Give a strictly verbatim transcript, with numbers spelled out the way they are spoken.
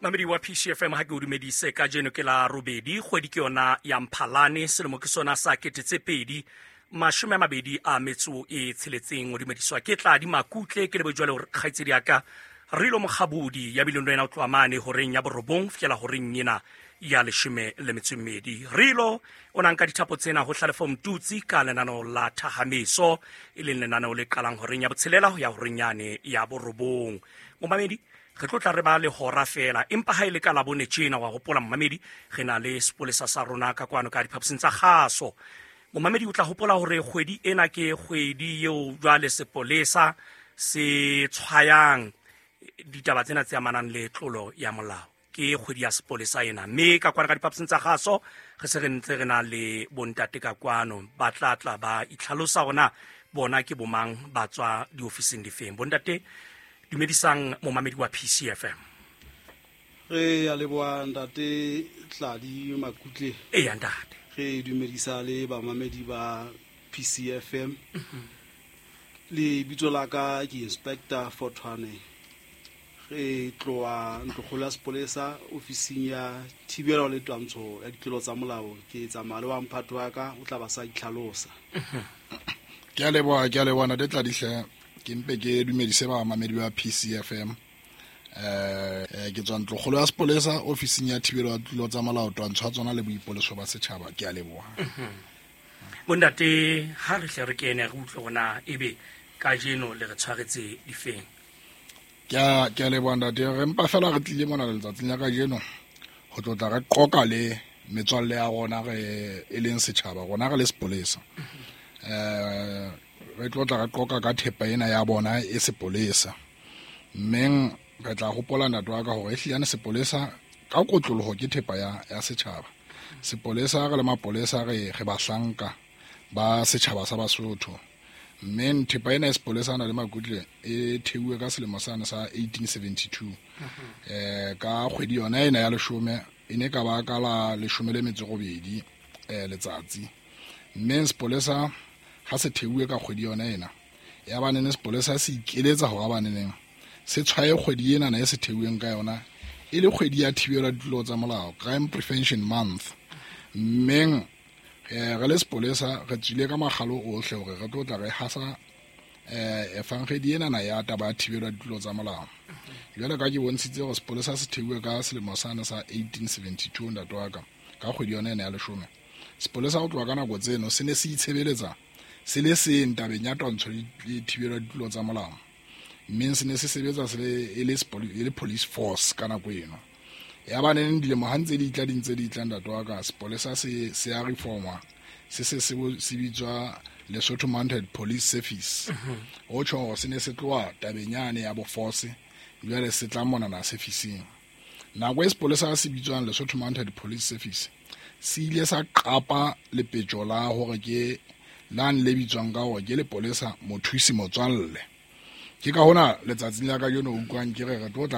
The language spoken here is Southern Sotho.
Mamedi wa P C F M, ha ke o dumedise. Kajeno ke la robedi, kgwedi ke yona ya Mphalane, selemo ke sona sa kete tse pedi mashome a mabedi a metso e tsheletseng. O dumediswa ke Tladi Makutle, ke lebe jwale hore kgaitsedi ya ka Rilo Mokgabodi ya bileng le wena o tloha mane horeng ya borobong fihlela horeng ena ya leshome le metso e mmedi. Rilo o nang ka dithapo tsena ho Hlalefo Mtutsi ka lenaneo la Thahameso, e leng lenaneo le qalang horeng ya botshelela ho ya horeng yane ya borobong. Momamedi, re tlo tla re ba le hora fela, empa ha e le ka Labone tjena, wa hopola momamedi, re na le sepolesa sa rona ka kwano ka diphaposing tsa kgaso. Momamedi, o tla hopola hore kgwedi ena ke kgwedi eo jwale sepolesa se tshwayang ditaba tsena tse amanang le tlolo ya molao. Ke kgwedi ya sepolesa ena, mme ka kwana ka diphaposing tsa kgaso re se re ntse re na le bontate ka kwano, ba tla tla ba itlhalosa hona bona ke bomang, ba tswa diofising difeng. Bontate, dumedisang momamedi wa P C F M. Re ya leboha, ntate Tladi Makutle. Eya, ntate. Re dumedisa le bamamedi ba P C F M. Le bitso la ka ke Inspector Fortwane, re tloa ntlokgolo ya sepolesa, ofising ya thibelo le twantsho ya ditlolo tsa molao. Ke tsamaya le wa mphato wa ka, o tla ba sa itlhalosa. Ke a leboha, ke a leboha, ntate Tladihle. Ke mpe ke dumedise bamamedi ba P C F M. eh ke tswa ntlokgolo ya sepolesa, ofising ya thibelo ya ditlolo tsa molao, twantsho ya tsona le boipoleso ba setjhaba. Ke a leboha. Bontate, ha re hle re kene re utlwe hona ebe kajeno le re tshwaretse difeng. ke a ke a leboha, ntate. Re mpa fela re tlile mona letsatsing la kajeno ho tlotla re qoka le metswalle ya rona, re e leng setjhaba. Rona re le sepolesa, eh re tlotla re qoka ka thepa ena ya bona e sepolesa. Mmeng re tla hopola, ntate wa ka, hore ehliyane sepolesa ka kotloloho ke thepa ya, ya setjhaba. Sepolesa, re le mapolesa, re re bahlanka ba setjhaba sa Basotho. Mme thepa ena ya sepolesa na le Makutle e theuwe ka selemo sane sa eighteen seventy-two, eh ka kgwedi yona ena ya leshome, e ne ka ba ka la leshome le metso robedi eh letsatsi. Mme sepolesa ha se theuwe ka kgwedi yona ena ya banene, sepolesa se ikeletsa hore baneneng se tshwaye kgwedi ena na e se theuweng ka yona e le kgwedi ya thibelo ya ditlolo tsa molao, Crime Prevention Month. Mmeng eh re le sepolesa re tswile ka makgalo ohle hore re tlo tla re hasa eh efangedi ena na ya taba ya thibelo ya ditlolo tsa molao. Jwale ka ke bontshitse hore sepolesa se theuwe ka selemo sane sa eighteen seventy-two, ntate wa ka, ka kgwedi yona ena ya leshome, sepolesa ho tloha ka nako tseno se ne se itshebeletsa se le seng tabeng ya twantsho le thibelo ya ditlolo tsa molao. Mme se ne se sebetsa se le e le e le police force ka nako eno. Ya ba neng dilemo ha ntse di tla, di ntse di tla, ntate wa ka, sepolesa se se a reformwa, se se se bitswa Lesotho Mounted Police Service. Ho tjho hore se ne se tloha tabeng yane ya bo force, jwale se tla monana serviceng. Nako e sepolesa se bitswang Lesotho Mounted Police Service se ile sa qapa lepetjo la hore ke lane le bitswang ka hore ke lepolesa mothusi motswalle. Ke ka hona letsatsing la kajeno o utlwang ke re re tlo tla